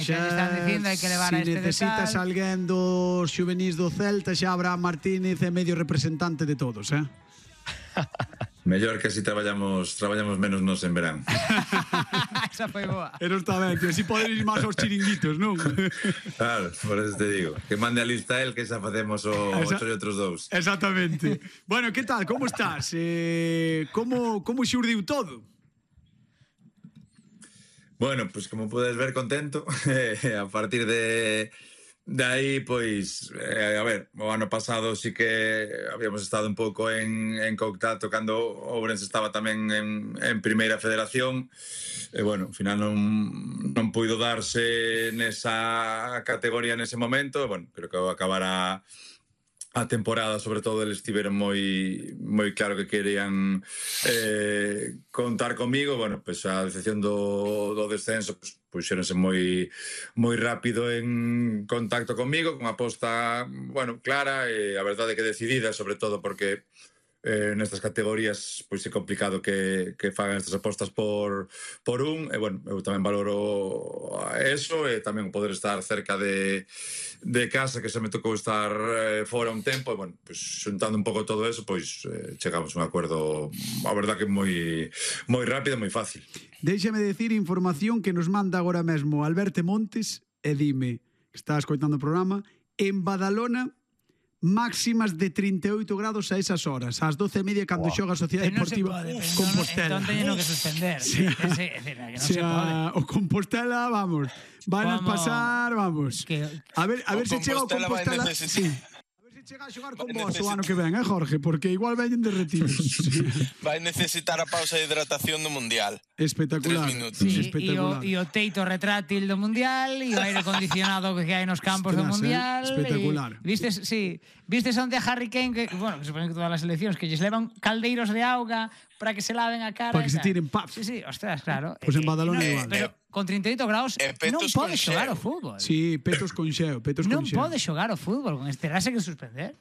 Xa están dicindo hai que levar a este necesitas alguén dos xuvenís do Celta, xa Abraham Martínez é medio representante de todos, Mellor que así traballamos menos nos en verán. Esa foi boa. Pero está ben, que así poden ir máis aos chiringuitos, non? Claro, por eso te digo. Que mande a lista él, que xa facemos o 8 e outros 2. Exactamente. Bueno, que tal? Como estás? Como xurdiu todo? Bueno, pues como podes ver, contento. A partir de aí, pois, a ver, o ano pasado sí que habíamos estado un pouco en contacto cando o Ourense estaba tamén en Primeira Federación. E, bueno, ao final non puido darse nesa categoría nese momento. Bueno, creo que ao acabar a temporada, sobre todo, eles estiveron moi claro que querían contar comigo. Bueno, pois a decepción do descenso, pois puxéronse moi rápido en contacto comigo, con aposta, bueno, clara e a verdade que decidida, sobre todo porque nestas categorías pois é complicado que fagan estas apostas por un, e bueno, eu tamén valoro eso, e tamén poder estar cerca de casa, que se me tocou estar fora un tempo, e bueno, pois xuntando un pouco todo eso, pois chegamos a un acordo, a verdade que moi rápido, moi fácil. Déixame decir información que nos manda agora mesmo Alberto Montes, e dime, que está escoitando o programa, en Badalona máximas de 38 grados a esas horas, ás 12:30 cando xoga a Sociedade Deportiva Compostela. Entón teñeno que suspender. O Compostela, vamos, van a pasar, vamos. A ver se chega o Compostela. Chega a xogar con vos o ano que ven, Jorge? Porque igual veñen derretidos. Vai necesitar a pausa de hidratación do Mundial. Espectacular. 3 minutos. Sí, e o teito retrátil do Mundial, e o aire acondicionado que hai nos campos do Mundial. Espectacular. Vistes onde a Harry Kane, que, bueno, que supoñen que todas as seleccións, que lles levan caldeiros de auga para que se laven a cara. Para que se tiren paf. Sí, ostras, claro. Pois en Badalona igual. Pero con 38 graus non pode xogar o fútbol. Sí, petos con xeo. Non pode xogar o fútbol, con terase que suspender.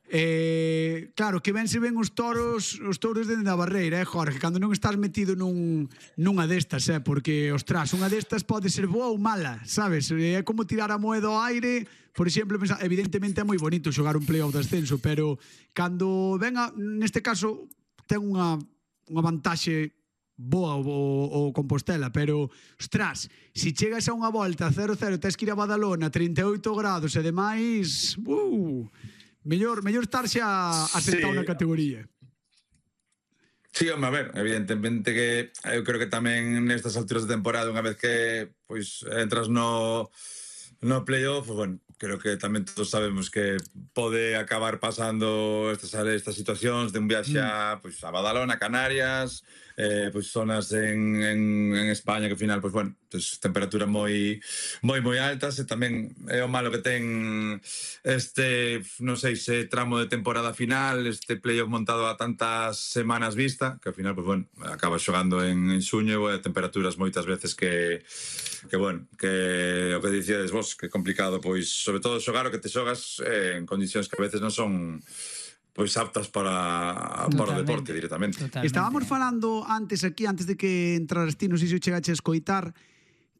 Claro, que ben se ven os touros dende a barreira, Jorge, cando non estás metido nunha destas, porque, ostras, unha destas pode ser boa ou mala, sabes? É como tirar a moeda ao aire. Por exemplo, evidentemente é moi bonito xogar un play-off de ascenso, pero cando venga, neste caso, ten unha vantaxe boa o Compostela, pero, ostras, se chegas a unha volta 0-0, tens que ir a Badalona, 38 grados e demais, mellor estar xa asentado na categoría. Sí, home, a ver, evidentemente que eu creo que tamén nestas alturas de temporada, unha vez que pois entras no play-off, bueno, creo que tamén todos sabemos que pode acabar pasando estas situacións de un viaxe a Badalona, Canarias, pois zonas en España que ao final, pois bueno, temperaturas moi altas, e tamén é o malo que ten este, non sei se tramo de temporada final, este playoff montado a tantas semanas vista, que ao final, pois bueno, acaba xogando en xuño, e temperaturas moitas veces que bueno, que o que dicíades vos, que é complicado, pois sobre todo xogar o que te xogas en condicións que a veces non son pois aptas para o deporte directamente. Estábamos falando antes de que entraras ti, non sei se chegache a escoitar,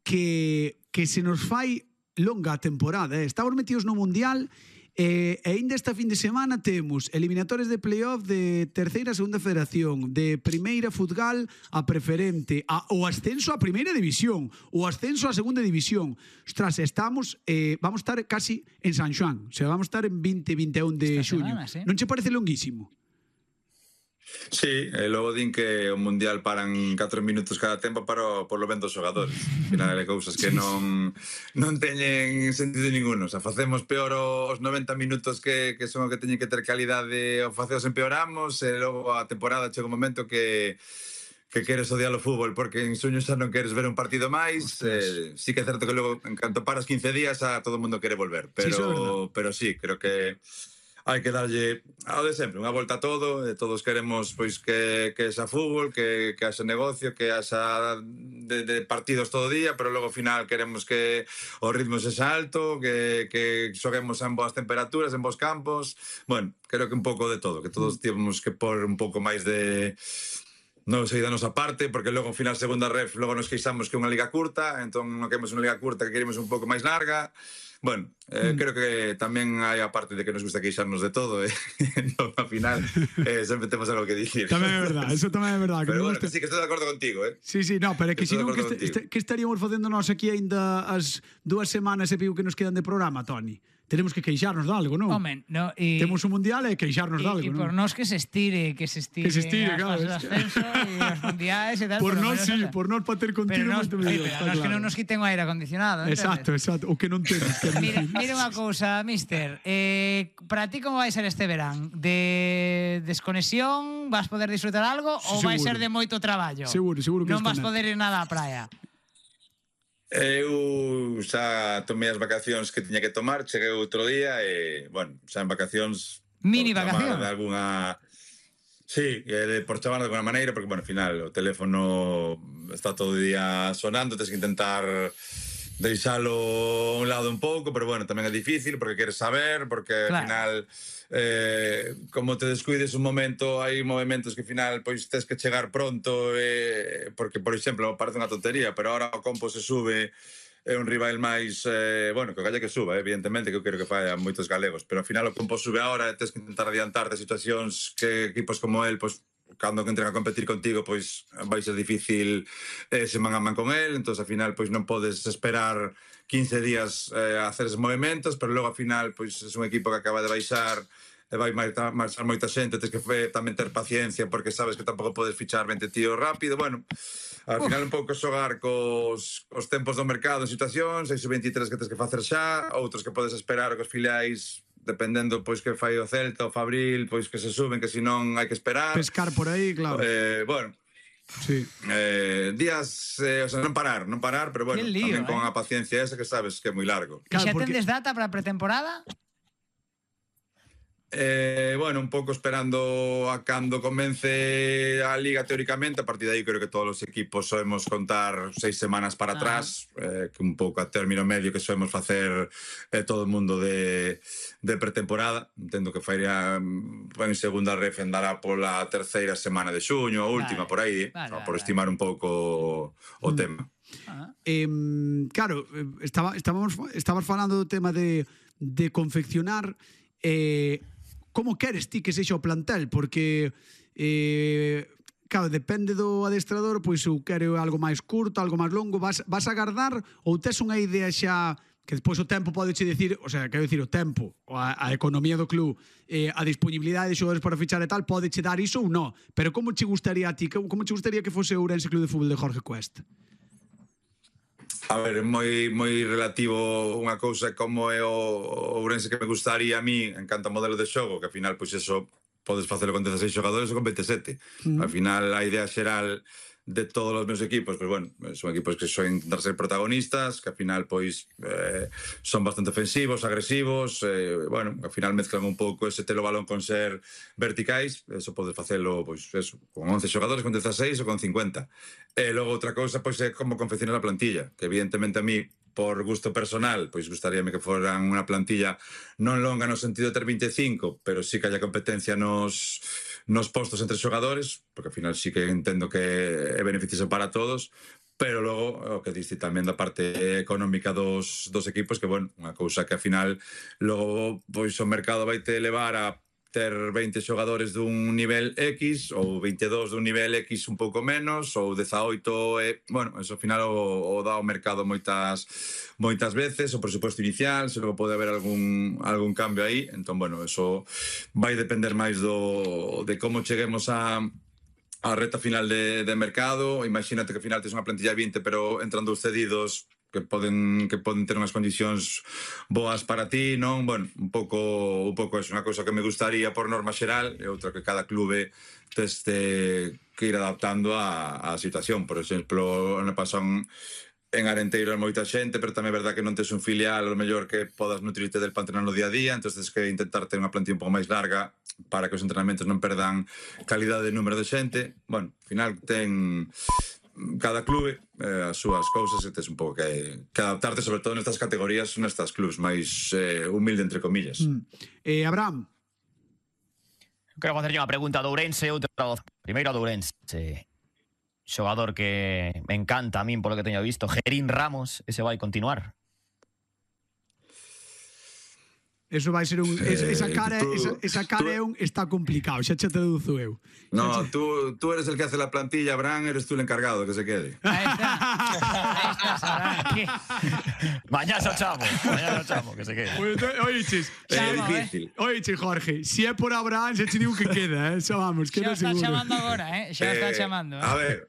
que se nos fai longa a temporada, estamos metidos no Mundial, e ainda esta fin de semana temos eliminatorias de playoff de terceira a segunda federación, de primeira futgal a preferente, o ascenso a primeira división, o ascenso a segunda división. Ostras, vamos a estar casi en San Xoán, o sea, vamos a estar en 20-21 de xuño. Non che parece longuísimo? Sí, e logo din que o Mundial paran 4 minutos cada tempo para por lo ben dos xogadores. Al final hai cousas que non teñen sentido ninguno. O sea, facemos peor os 90 minutos que son o que teñen que ter calidade, o faceos empeoramos, e logo a temporada chega un momento que queres odiar o fútbol porque en suño xa non queres ver un partido máis. Sí que é certo que logo, en canto paras 15 días, a todo o mundo quere volver, pero sí, creo que hai que darlle ao de sempre, unha volta a todo, e todos queremos pois que xa fútbol, que haxa negocio, que haxa de partidos todo o día, pero logo ao final queremos que o ritmo sexa alto, que xoguemos en boas temperaturas, en bons campos. Bueno, creo que un pouco de todo, que todos temos que pôr un pouco máis de non sei da nosa parte, porque logo, ao final, segunda ref, logo nos queixamos que é unha liga curta, entón non queremos unha liga curta, que queremos un pouco máis larga. Bueno, creo que tamén hai a parte de que nos gusta queixarnos de todo, entón, ao final, sempre temos algo que dicir. Tamén é verdad, eso tamén é verdad. Pero bueno, que sí, que estou de acordo contigo, Sí, no, pero é que senón que estaríamos facendo nós aquí aínda as 2 semanas e pico que nos quedan de programa, Toni. Tenemos que queixarnos de algo, non? Home, no, temos un mundial e queixarnos de algo, non? E por nós que se estire claro. As ascenso e os mundiais e tal. Por nós, sí, por nós para ter continuo moito mellor. Pero nós que non nos quiten o aire acondicionado, Exacto, o que non temos. Mira unha cousa, mister, para ti como vai ser este verán? De desconexión, vas poder disfrutar algo ou vai ser de moito traballo? Seguro que non vas poder ir nada á praia. Eu xa tomei as vacacións que tiña que tomar, cheguei outro día e, bueno, xa en vacacións... Mini vacacións? De alguna... Sí, por chamar de alguna maneira, porque, bueno, ao final o teléfono está todo o día sonando, tens que intentar deixalo a un lado un pouco, pero, bueno, tamén é difícil porque queres saber, porque, ao final... como te descuides un momento, hai movimentos que ao final pois tes que chegar pronto, porque, por exemplo, parece unha tontería, pero ahora o Compo se sube, é un rival máis, bueno, que o galle que suba, evidentemente, que eu quero que fai a moitos galegos, pero ao final o Compo sube ahora e tes que intentar adiantar de situacións que equipos como el, pois, cando que entren a competir contigo, pois vai ser difícil se man a man con el, entón ao final pois non podes esperar 15 días a hacer esos movimentos, pero logo ao final pois é un equipo que acaba de baixar e vai marchar moita xente, tens que tamén ter paciencia porque sabes que tampouco podes fichar 20 tíos rápido, bueno, ao final un pouco xogar cos tempos do mercado en situacións, hai 23 que tens que facer xa, outros que podes esperar cos filiais dependendo pois que fai o Celta ou Fabril, pois que se suben, que senón hai que esperar. Pescar por aí, claro. Bueno, sí. Días, o sea, non parar, pero bueno, tamén con a paciencia esa que sabes que é moi largo. E xa tendes data para a pretemporada? Bueno, un pouco esperando a cando comence a Liga teóricamente, a partir de aí creo que todos os equipos soemos contar 6 semanas para atrás, que un pouco a término medio que soemos facer todo o mundo de pretemporada. Entendo que faría en segunda ref andará pola terceira semana de xuño, a última, por aí, por estimar un pouco o tema. Claro, estabas falando do tema de confeccionar. Como queres ti que sexa o plantel? Porque claro, depende do adestrador, pois eu quero algo máis curto, algo máis longo. Vas a agardar ou tes unha idea xa que despois o tempo pode che dicir, o sea, quero dicir, o tempo, a economía do club, a disponibilidade de xogadores para fichar e tal, pode che dar iso ou non? Pero como che gustaría a ti, como che gustaría que fose o Ourense Club de Fútbol de Jorge Cuesta? A ver, moi relativo unha cousa como é o Ourense que me gustaría a mí, en canto ao modelo de xogo, que ao final, pois eso, podes facelo con 16 xogadores ou con 27. Al final, a idea xeral de todos os meus equipos, pois bueno, son equipos que son intentar ser protagonistas, que ao final, pois, son bastante ofensivos, agresivos, bueno, ao final mezclan un pouco ese telo balón con ser verticais, eso podes facelo, pois, eso, con 11 xogadores, con 16 ou con 50. E logo outra cousa, pois, é como confeccionar a plantilla, que evidentemente a mí, por gusto personal, pois gustaríame que foran unha plantilla non longa no sentido de ter 25, pero sí que haya competencia nos postos entre xogadores, porque ao final sí que entendo que é beneficioso para todos, pero logo o que diste tamén da parte económica dos equipos, que, bueno, unha cousa que ao final logo pois o mercado vai te levar a ter 20 xogadores dun nivel X ou 22 dun nivel X un pouco menos ou 18 bueno, eso ao final o dá o mercado moitas veces, o presuposto inicial, se logo pode haber algún cambio aí, entón, bueno, eso vai depender máis de como cheguemos a reta final de mercado. Imagínate que ao final tes unha plantilla 20 pero entran dous cedidos que poden ter unhas condicións boas para ti, non? Bueno, un pouco é unha cousa que me gustaría por norma xeral, e outra que cada clube tes que ir adaptando á situación. Por exemplo, ano pasado en Arenteiro hai moita xente, pero tamén é verdad que non tes un filial o mellor que podas nutrirte del para entrenar no día a día, entón tens que intentar ter unha plantilla un pouco máis larga para que os entrenamentos non perdan calidade de número de xente. Bueno, ao final ten cada clube as súas cousas e tes un pouco que adaptarte, sobre todo nestas categorías, nestas clubs máis humilde, entre comillas. Abraham. Quero facerlle unha pregunta do Ourense e outra primeiro do Ourense. xogador que me encanta a min polo que teño visto, Gerín Ramos, ese vai continuar. Eso vai ser un... Esa cara está complicado, xa che deduzo eu. No, tú eres el que hace la plantilla, Bran, eres tú el encargado, que se quede. Ahí está, Abraham. Mañá se chamo, que se quede. Oiches, Difícil. oiche, Jorge, si é por Abraham, xa che digo que queda, xa vamos, Xa queda está seguro. chamando agora, xa está chamando. A ver,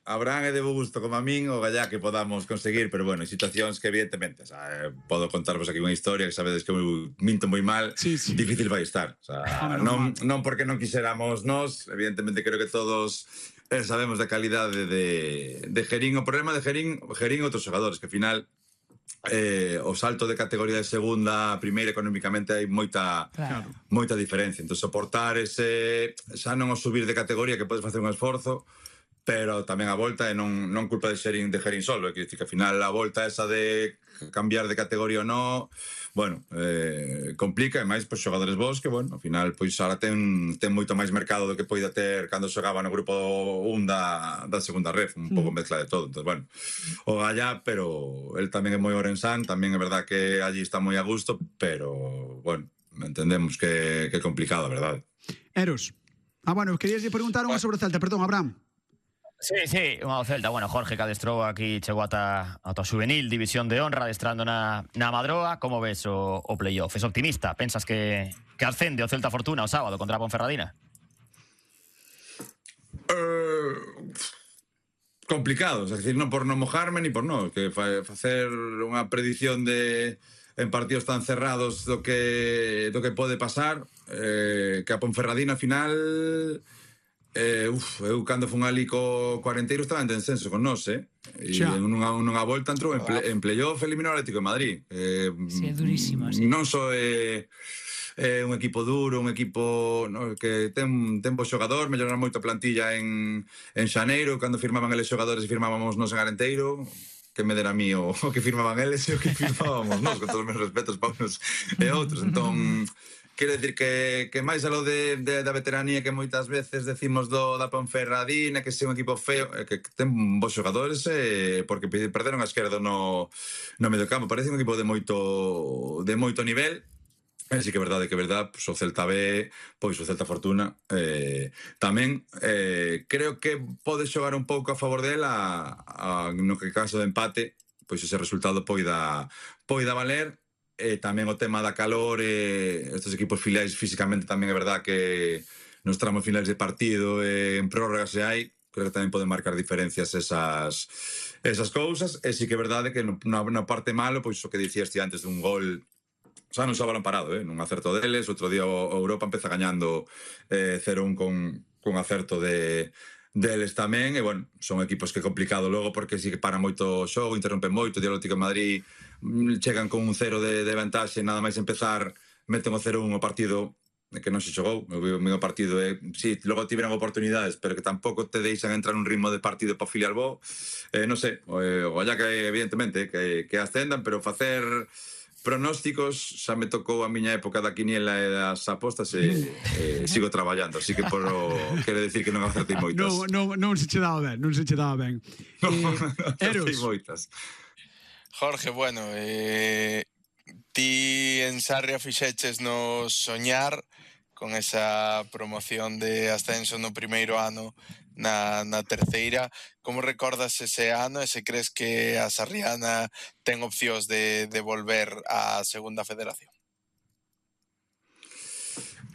Abraham é de bo gusto como a min, o gallá que podamos conseguir, pero bueno, hai situacións que evidentemente, o sea, podo contarvos aquí unha historia que sabedes que eu minto moi mal, Sí. difícil vai estar. O sea, non porque non quixéramos nós, evidentemente creo que todos sabemos da calidade de Gerín. O problema de Gerín e outros xogadores, que ao final o salto de categoría de segunda a primeira económicamente hai moita diferencia. Entón, soportar ese, xa non o subir de categoría, que podes facer un esforzo, pero tamén a volta é non culpa de Gerín solo, é que ao final a volta esa de cambiar de categoría ou non, bueno, complica, e máis pois xogadores vos que, bueno, ao final pois ahora ten moito máis mercado do que poida ter cando xogaba no grupo 1 da segunda ref, un pouco mezcla de todo. Entón, bueno, o gallá, pero el tamén é moi orensán, tamén é verdad que allí está moi a gusto, pero, bueno, entendemos que é complicado, a verdade. Eros. Bueno, querías preguntar unha sobre o Celta, perdón, Abraham. Sí, unha do Celta. Bueno, Jorge que adestrou aquí, chegou ata a juvenil, división de honra, adestrando na Madroa. Como ves o playoff? Es optimista? Pensas que ascende o Celta Fortuna o sábado contra a Ponferradina? Complicado, es decir, non por non mojarme ni por non, que facer unha predición en partidos tan cerrados do que pode pasar, que a Ponferradina final... eu cando fun ali co Arenteiro estaba en descenso con nós, e nunha volta entrou en playoff, eliminou o Atlético de Madrid. Sí, é durísimo, sí. Non só é un equipo duro, un equipo que ten bons xogador, mellorar moito a plantilla en xaneiro, cando firmaban eles xogadores e firmábamos nos en Arenteiro, que me dera a mí o que firmaban eles e o que firmábamos nós, con todos os meus respetos para uns e outros. Entón, quero dicir que máis a lo da veteranía que moitas veces decimos da Ponferradina, que é un equipo feo, que ten bons xogadores, porque perderon a esquerda no medio campo. Parece un equipo de moito nivel. Así que é verdade, pois o Celta B, pois o Celta Fortuna tamén creo que pode xogar un pouco a favor dela no que caso de empate, pois ese resultado poida valer. Tamén o tema da calor, estes equipos filiais físicamente tamén é verdad que nos tramos finais de partido, en prórrogas se hai, creo que tamén poden marcar diferencias esas cousas. E sí que é verdade que na parte malo, pois o que dicías ti antes dun gol, xa non xa balón parado, nun acerto deles. Outro día o Europa empeza gañando 0-1 con acerto deles tamén, e bueno, son equipos que é complicado logo porque sí que para moito o xogo, interrompen moito. O Atlético de Madrid chegan con un 0 de vantaxe, nada máis empezar meten o 0-1 o partido que non se xogou. O meu partido sí, logo tiveron oportunidades, pero que tampouco te deixan entrar un ritmo de partido para filiar bo. Non sei, o allá que evidentemente que ascendan, pero facer pronósticos xa me tocou a miña época da quiniela e das apostas, sigo traballando, así que quero decir que non acertei moitas. Non se che daba ben, Eros. Moitas. Jorge, bueno, ti en Sarria fixeches nos soñar con esa promoción de ascenso no primeiro ano na terceira. Como recordas ese ano e se crees que a Sarriana ten opcións de volver á segunda federación?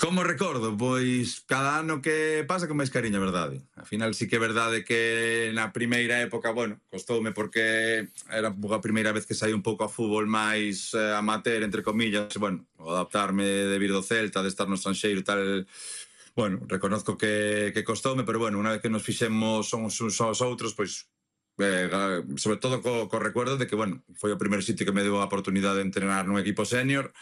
Como recordo? Pois cada ano que pasa con máis cariño, a verdade. Al final sí que é verdade que na primeira época, bueno, costoume porque era a primeira vez que saí un pouco a fútbol máis amateur, entre comillas, bueno, adaptarme de vir do Celta, de estar no estranxeiro e tal. Bueno, reconozco que costoume, pero bueno, unha vez que nos fixemos uns aos outros, pois sobre todo co recuerdo de que, bueno, foi o primeiro sitio que me deu a oportunidade de entrenar nun equipo senior.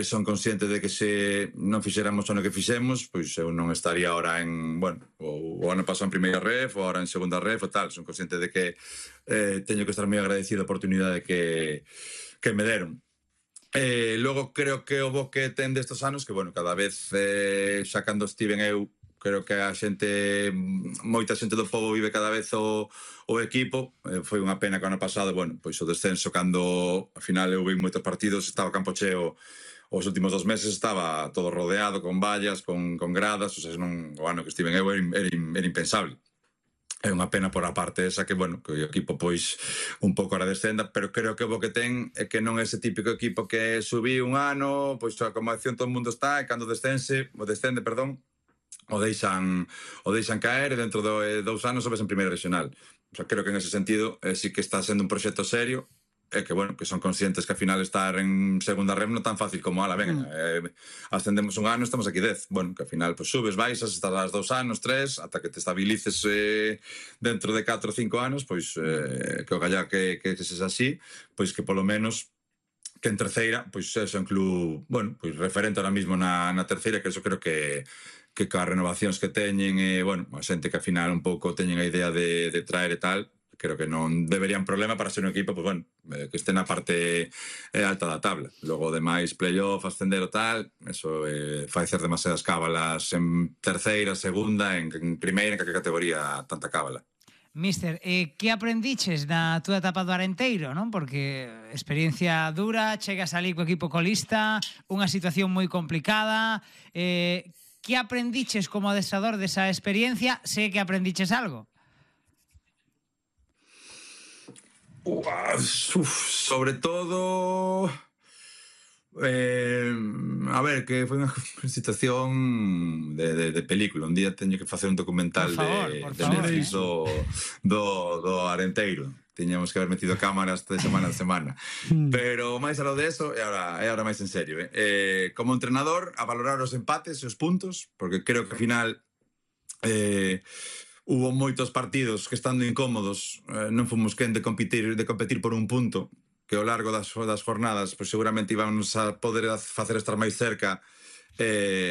Son consciente de que se non fixéramos o no que fixemos, pois eu non estaría ahora bueno, o ano pasado en primeira ref, ou ahora en segunda ref, ou tal. Son consciente de que teño que estar moi agradecido a oportunidade que me deron. Logo creo que o bo que ten destes anos, que, bueno, cada vez xa cando estiven eu creo que a xente, moita xente do pobo vive cada vez o equipo. Foi unha pena que o ano pasado, bueno, pois o descenso, cando ao final eu vi moitos partidos, estaba campo cheo os últimos 2 meses, estaba todo rodeado con vallas, con gradas, o sea, non, o ano que estiven eu era impensable. É unha pena por a parte esa que, bueno, que o equipo pois un pouco ahora descenda, pero creo que o que ten é que non é ese típico equipo que subí un ano, pois a acomodación todo o mundo está, e cando descende, o deixan caer, e dentro de 2 anos sobes en primeira regional. O sea, creo que en ese sentido sí que está sendo un proxecto serio, e que, bueno, que son conscientes que ao final estar en segunda rem non tan fácil como, venga, ascendemos un ano, estamos aquí 10. Bueno, que ao final pues, subes, baixas, estás 2 anos, 3, ata que te estabilices dentro de 4 ou 5 anos, pois que o gallá que sexa así, pois que polo menos que en terceira, pois é un club, bueno, pois referente ahora mismo na terceira, que eso creo que coas renovacións que teñen, bueno, a xente que ao final un pouco teñen a idea de traer e tal, creo que non deberían problema para ser un equipo, pues bueno, que este na parte alta da tabla. Logo, demais, playoff, ascender o tal, eso fai ser demasiadas cábalas en terceira, segunda, en primeira, en que categoría tanta cábala. Mister, que aprendiches na túa etapa do Arenteiro, non? Porque experiencia dura, chegas ali co equipo colista, unha situación moi complicada. Que aprendiches como adestrador desa experiencia? Sei que aprendiches algo. Sobre todo, a ver, que foi unha situación de película. Un día teño que facer un documental de Netflix do Arenteiro. Tiñamos que haber metido cámaras de semana a semana. Pero máis aló de eso, e agora máis en serio. Como entrenador, a valorar os empates e os puntos, porque creo que ao final hubo moitos partidos que, estando incómodos, non fomos quen de competir por un punto, que ao largo das jornadas pues, seguramente íbamos a poder facer estar máis cerca,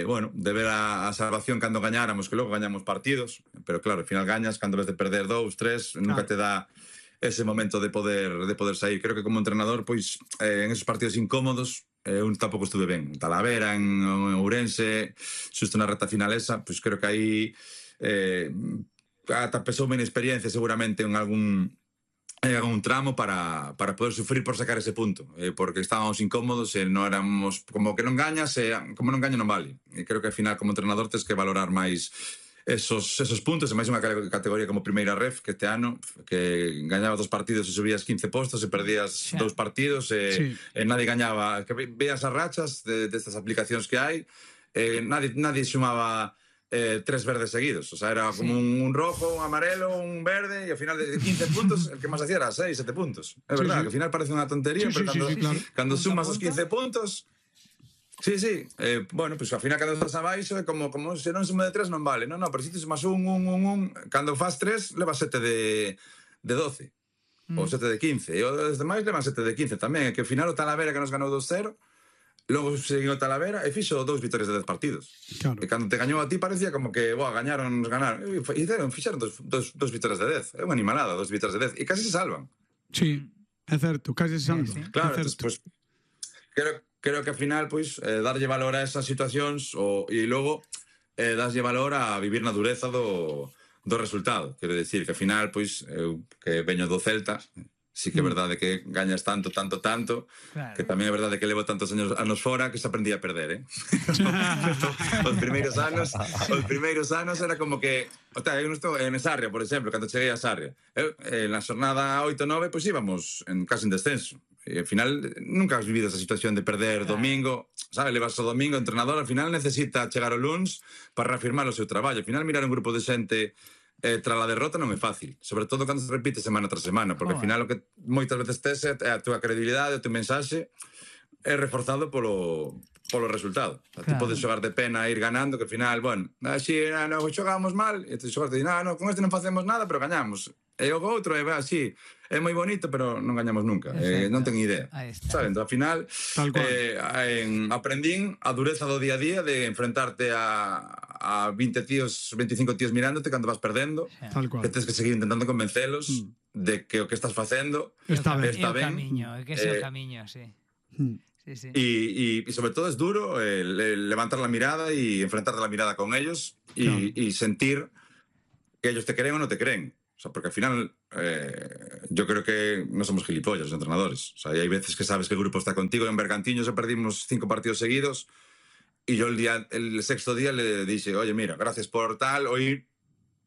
bueno, de ver a salvación cando gañáramos, que logo gañamos partidos, pero claro, ao final gañas cando ves de perder 2, 3, nunca te dá ese momento de poder sair. Creo que como entrenador, pois, en esos partidos incómodos, un tampouco estuve ben. En Talavera, en Ourense, xusto na reta final esa, pois creo que aí ata pesoume en experiencia seguramente en algún tramo para poder sufrir por sacar ese punto, porque estábamos incómodos e non éramos, como que non gañas, como non gaño non vale. E creo que ao final como entrenador tens que valorar máis esos puntos, e máis unha categoría como primeira ref, que este ano que gañabas 2 partidos e subías 15 postos e perdías 2 partidos e nadie gañaba, que veas as rachas destas aplicacións que hai, nadie sumaba 3 verdes seguidos, o sea, era como un rojo, un amarelo, un verde, e ao final de 15 puntos el que máis hacía era 6, 7 puntos. É verdad, que ao final parece unha tontería, pero cando sumas os 15 puntos, bueno, pues ao final cando estás abaixo é como se non sumo de 3 non vale, non, pero se ti sumas un, cando faz 3 levas 7 de 12, ou 7 de 15, e os demais levan 7 de 15 tamén, que ao final o Talavera que nos ganou 2-0, logo seguiu o Talavera e fixo 2 vitorias de 10 partidos. Claro. E cando te gañou a ti parecía como que, ganaron. Fixeron 2 vitorias de 10. É unha animalada, 2 vitorias de 10. E casi se salvan. Sí, é certo, casi se salvan. Sí. Claro, pues, creo que ao final, pues, darlle valor a esas situacións e logo darlle valor a vivir na dureza do resultado. Quero decir que ao final, pues, eu que veño do Celta, sí que é verdade que gañas tanto, claro, que tamén é verdade que levo tantos anos fora que se aprendí a perder, Os primeiros anos era como que, eu non estou en Sarria, por exemplo, cando cheguei a Sarria, na xornada 8-9, pois íbamos casi en descenso. E ao final nunca has vivido esa situación de perder domingo, sabe, levas o domingo, o entrenador ao final necesita chegar o luns para reafirmar o seu traballo. Ao final mirar un grupo de xente tras a derrota non é fácil, sobre todo cando se repite semana tras semana, porque ao final o que moitas veces tes é a túa credibilidade, o teu mensaxe é reforzado polo resultado. Claro. Ti podes xogar de pena e ir ganando, que ao final, bueno, así non xogamos mal, e te xogas de con este non facemos nada, pero gañamos. E o outro é así, é moi bonito, pero non gañamos nunca, non ten idea. Saben, ao final aprendín a dureza do día a día de enfrentarte a 20 tíos, 25 tíos mirándote cando vas perdendo, que tens que seguir intentando convencelos de que o que estás facendo está ben. É o camiño, que é o camiño, sí. Sí, sí. Y sobre todo es duro levantar la mirada y enfrentarte la mirada con ellos y sentir que ellos te creen o no te creen. O sea, porque al final yo creo que no somos gilipollas los entrenadores. O sea, hay veces que sabes que el grupo está contigo. En Bergantiños perdimos 5 partidos seguidos y yo el sexto día le dije, oye, mira, gracias por tal, hoy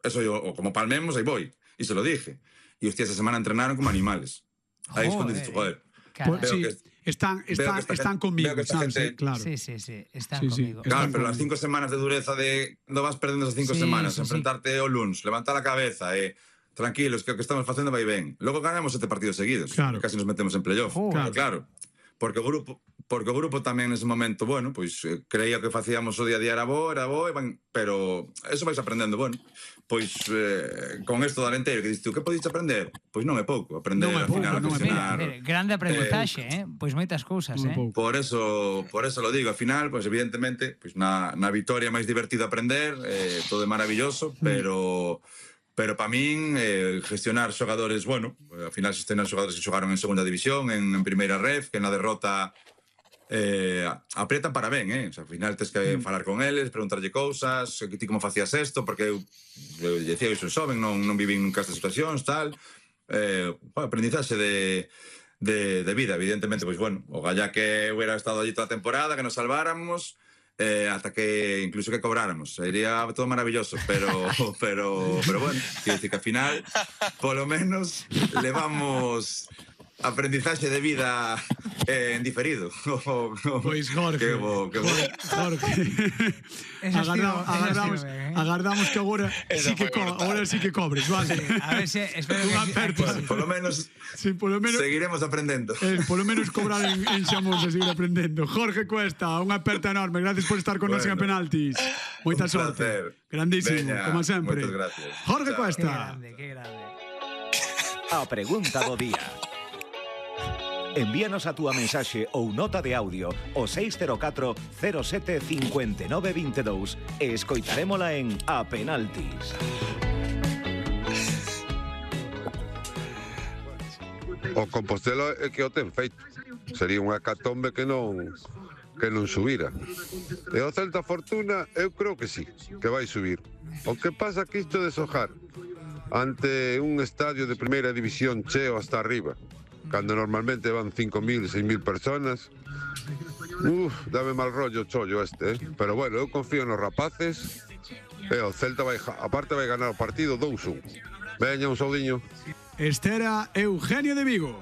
eso yo, o como palmemos, ahí voy. Y se lo dije. Y hostia, esa semana entrenaron como animales. Ahí es cuando dices, joder. Pues, sí, están conmigo, ¿sabes? Gente, claro. Sí, están conmigo. Claro, pero las 5 semanas de dureza no vas perdiendo esas 5 semanas, enfrentarte ao luns, levantar a cabeza, tranquilos, que o que estamos facendo vai ben. Logo ganamos 7 partidos seguidos, casi nos metemos en playoff. Claro. Porque o grupo tamén nese momento, bueno, pois creía que facíamos o día a día era bo, pero eso vais aprendendo, bueno. Pois con isto do Alenteiro que dices tú, que podiste aprender? Pois non é pouco, aprender ao final a gestionar. Grande aprendizaxe, pois moitas cousas, Por eso lo digo, ao final, pois evidentemente, pois na vitoria é máis divertido aprender, todo é maravilloso, pero para min gestionar xogadores, bueno, ao final gestionar xogadores que xogaron en segunda división, en primeira ref, que na derrota apretan para ben, o sea, ao final tens que falar con eles, preguntarlle cousas, que ti como facías isto, porque eu decía que son xoven, non vivín nunca estas situacións, tal, aprendizaxe de vida, evidentemente, pois bueno, o galla que hubiera estado allí toda a temporada, que nos salváramos, hasta que incluso que cobráramos, sería todo maravilloso, pero bueno, quiero decir que al final por lo menos levamos aprendizaxe de vida en diferido. Pois Jorge, agardamos que agora sí que cobres, vale? A ver se espero que por lo menos seguiremos aprendendo. Por lo menos cobrar en Xamón, seguir aprendendo. Jorge Cuesta, unha aperta enorme, gracias por estar con nos en Penaltis. Moita sorte. Grandísimo, como sempre. Moitas gracias. Jorge Cuesta. Qué grande. A pregunta do día. Envíanos a túa mensaxe ou nota de audio ao 604 07 59 22 e escoitarémola en A Penaltis. O Compostela é que o ten feito. Sería unha hecatombe que non subira. E o Celta Fortuna, eu creo que sí, que vai subir. O que pasa que isto de sojar ante un estadio de primeira división cheo hasta arriba, cando normalmente van 5.000, 6.000 personas, dame mal rollo o chollo este, Pero bueno, eu confío nos rapaces e o Celta aparte vai ganar o partido 2-1. Veña, un saudiño. Este era Eugenio de Vigo.